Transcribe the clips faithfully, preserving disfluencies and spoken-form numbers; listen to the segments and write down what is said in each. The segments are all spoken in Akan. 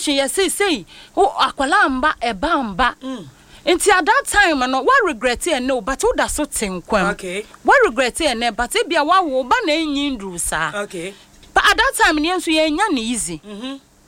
Operation yɛ sei sei, wo akwalaa mba, ɛba mba. Nti at that time no, wa regret ɛnɛ o, but woda so te nkwam. Okay. Wa regret ɛnɛ, but ebia wawo wo ba na enyi nduru saa. Okay. But at that time no, yɛn nso yɛnya ne easy.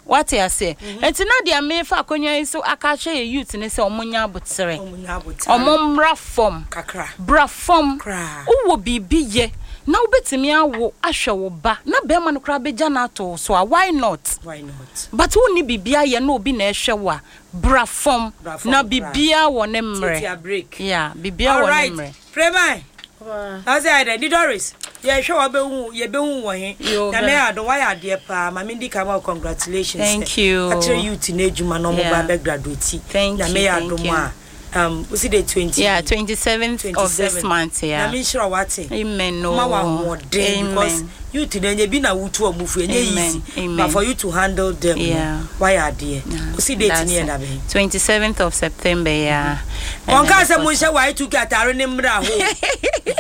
Wate aseɛ? Nti na deɛ mefa akonnwa yi so aka akyerɛ yɛ youth ne sɛ ɔmo nya abotere. Ɔmo nya abotere. Ɔmo mmra fam. Kakra. Bra fam. Koraa. Wowɔ biribi yɛ na wobɛtumi awo ahwɛ wo ba na bɛrima no koraa bɛgya no ato wo so a, why not? Why not? But wonni biribi ayɛ na obi na ɛhwɛ wo a, bra fam. Bra fam na koraa. Biribiara wɔ ne mmerɛ. Tiatia break. Yeah, biribiara wɔ ne Alright. mmerɛ. Premai. Ɔbaa. Ɔsɛ ayɛ dɛ di Doris, yɛhwɛ wa bɛhu, yɛbɛhu wɔ he. Yo, Nyame bɛ- adom, wayɛ adeɛ paa. Ma mendi ka ma wo congratulations. Thank you. Akyerɛ youth no adwuma na ɔmo Yeah. ba bɛ graduate. Thank Nyame you, yɛ thank adom you. a, um wosi de twenty Yeah, twenty-seventh of this month, yeah. Nyame nhyira wate. Amen o. Ma wa ahoɔden because Amen. youth no, ɛnyɛ bi na wotu ɔmo fu, ɛnyɛ Amen. easy. Amen. But for you to handle them no, Yeah. wayɛ adeɛ. Yeah, Wosi date that's ne yɛ it. da bɛn? twenty-seventh of September, yeah. Ɔnka sɛ monhyɛ Y two K atare ne mmerɛ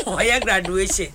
ho, ɔyɛ graduation.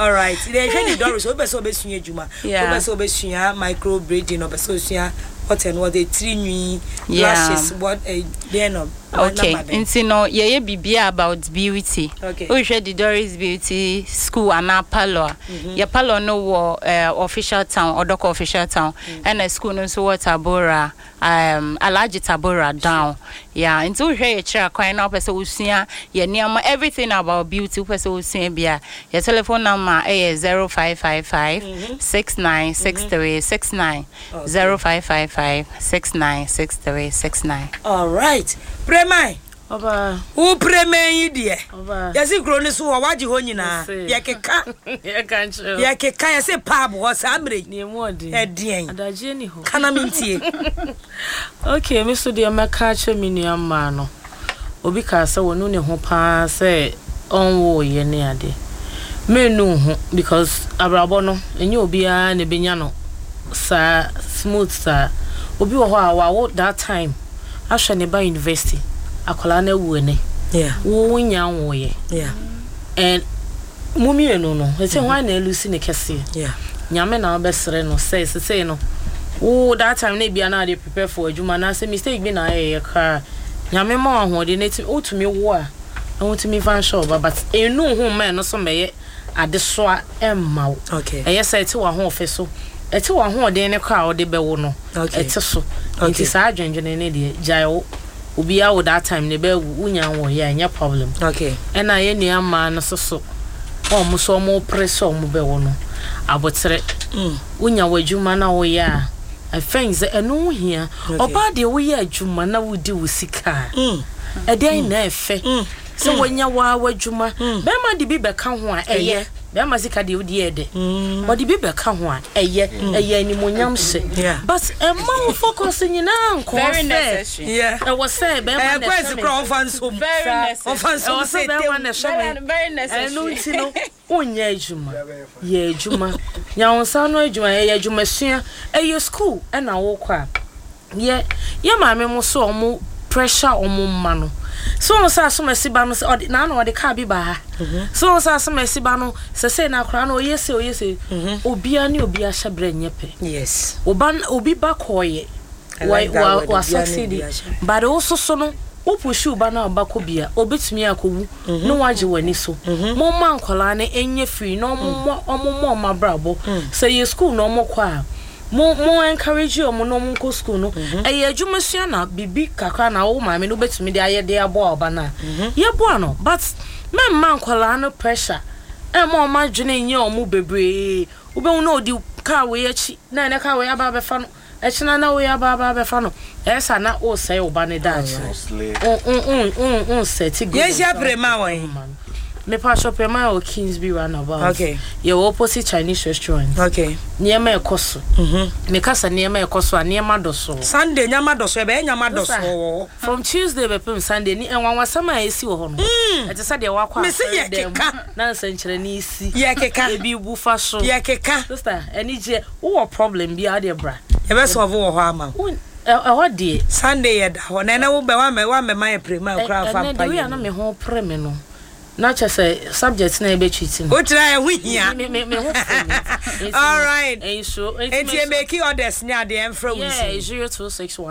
Alright, na ɛhwɛ ne Doris, wopɛ sɛ wobɛsua adwuma, Yeah. wopɛ sɛ wobɛsua micro braiding, ɔpɛ sɛ osua what and what, tiri nwi, Yeah. lashes, what, eh, deɛ no? Okay, number bɛn? Nti no yɛyɛ biribiara about beauty. Okay. Wohwɛ the Doris Beauty School anaa parlour a, yɛ parlour no wɔ uh, Official Town, Ɔdɔkɔ Official Town, ɛna school no nso wɔ Tabora, um, Alhaji Tabora down. Yeah, nti wohwɛ yɛ kyerɛ akwan na wopɛ sɛ wosua yɛ nneɛma, everything about beauty, wopɛ sɛ wosua bi a, yɛ telephone number ɛyɛ zero five five five six nine six three six nine, zero five five five six nine six three six nine. Alright, Premai. Ɔbaa. Wo Premai yi deɛ, Ɔbaa. yɛsi kuro no so wɔ wagye hɔ nyinaa. Yɛse. Yɛkeka. Yɛka nkyerɛ wo. Yɛkeka, yɛse pub hɔ saa mmerɛ yi. Nea mu ɔden. Ɛdeɛn? Adagyeɛ ni hɔ. Kana mentie. Okay, me so deɛ mɛka akyerɛ me nua mmaa no, obi kaa sɛ wɔnu ne ho paa sɛ ɔnwoeɛ ne ade. Mennu wo ho because abrabɔ no, ɛnyɛ obiara na ɛbɛnya no saa smooth saa. Obi wɔ hɔ a wawo that time ahwɛ ne ba university, akwadaa no awu ɛnɛ. Yeah. Wo wonya nwoeɛ. Yeah. And mo mmienu no, ɛsɛ hwan na ɛlusi ne kɛseɛ? Yeah. Nyame na wobɛsrɛ no sɛ sesei no, wo that time na ebia na ade prepare for adwuma anaasɛ mistake bi na ayɛyɛ koraa, Nyame ma wo ahoɔden na ɛtumi wotumi wo a na wotumi fa nhyɛ wo ba, but ɛnu ho mma ɛno so mmɛyɛ adesoa ɛmma wo. Okay. Ɛyɛ sɛ ɛte w'ahoɔfɛ so, ɛte w'ahoɔden ne koraa a wode bɛwo no. Okay. Ɛte so. Okay. Nti saa adwendwene ne deɛ, gyae wo. Obiara wo that time ne bɛwu, wonya nwɔyɛ a, ɛnyɛ problem. Okay. Ɛna yɛn nua mmaa no so so wɔn so wɔn pere sɛ wɔn bɛwo no, abotere. Wonya w'adwuma na woyɛ a, I think sɛ ɛno ho hia. Okay. Ɔbaa deɛ, woyɛ adwuma na wodi wo sika a, ɛdɛn na ɛfɛ sɛ woanya waa w'adwuma? Bɛrima de bi bɛka ho a, ɛyɛ bɛrima sika deɛ wodi yɛ dɛ, ɔde bi bɛka ho a, ɛyɛ ɛyɛ animonyam hyɛ. Yeah. But ɛma wo focus nyinaa nkɔɔ Very sɛ necessary. Yeah. Ɛwɔ sɛ bɛrima ɛyɛ na kwɛnsi ɛhwɛ me. kora ɔmfa nsom. Very necessary. Ɔmfa nsom Ɛwɔ sɛ sɛ bɛrima tem. na ɛhwɛ me. Very, very necessary. Ɛno nti no, wonyɛ adwuma, yɛ adwuma, nya wo nsa ano adwuma, ɛyɛ adwumasua, ɛyɛ school ɛna wokɔ a, yɛ yɛ maame mo so ɔmo pressure ɔmo mma no so wɔn sɛ asomasi ba no sɛ ɔde naana ɔde kaa bi ba ha so wɔn sɛ asomasi ba no sɛ sɛ na akora no ɔyɛ se ɔyɛ se obiara ne obiara hyɛ brɛ nyɛ pɛ. Yes. Oba obi ba kɔɔyɛ I like that wa word, wa obiara ne succeed. obiara hyɛ. But wo soso no, wo push wo ba no a, ɔba kɔ bia obetumi akɔwu na wagye w'ani so. Momma nkɔlaa no ɛnyɛ free na ɔmo ɔmo mmɔ ɔmo abrabɔ. Sɛ yɛ school na ɔmo kɔ a, mo mo encourage ɔmo na ɔmo nkɔ school no. Ɛyɛ adwuma sua na biribi kakra na wo maame no wobɛtumi de ayɛ de aboa ɔba no a, yɛboa no, but mɛmma nkɔlaa no pressure ɛma ɔmo adwene nyɛ ɔmo bebree. Wobɛhu na ɔdi kaa wei akyi na ɛnɛ kaa wei aba abɛfa no, ɛkyena na wei aba aba abɛfa no. Ɛyɛ sa na wosɛe wo ba ne daakye. Wonsɛte good. Yɛnhyia Prema wɔ he? Mepa Prema wɔ Kingsby Roundabout. Okay. Yɛwɔ opposite Chinese restaurant. Okay. Nneɛma ɛkɔ so. Meka sɛ nneɛma ɛkɔ so a, nneɛma dɔ so. Sunday nyama dɔ so, ɛbɛyɛ nyama dɔ so wɔ hɔ. From Tuesday bɛpem Sunday ni ɛnwanwasɛm a ɛsi wɔ hɔ no, ɛte sɛ deɛ wakɔ Mese yɛ asɔre dɛm keka. na nsɛnkyerɛnne si. Yɛ keka. Ebi bu fa so. Yɛ keka. Sister, ɛni gye wowɔ problem bi a, adeɛ bra. Yɛbɛsɔfo wɔ hɔ ama wo. Wo- ɛ- ɛhɔ deɛ. Sunday yɛ da hɔ na ɛnɛ wo bɛ wamɛ wamɛma yɛ Prema kora fa Ɛnɛ mpa de wei a yɛ na mu. Me ho pere me no, na kyɛ sɛ subject na yɛbɛtwiti no. Wokyerɛ ɛho hia. Me me me ho pere me. Nti no, Alright. ɛnso nti emeki orders ne adeɛ ɛmfrɛ wo yeah nsi. Zero two six one.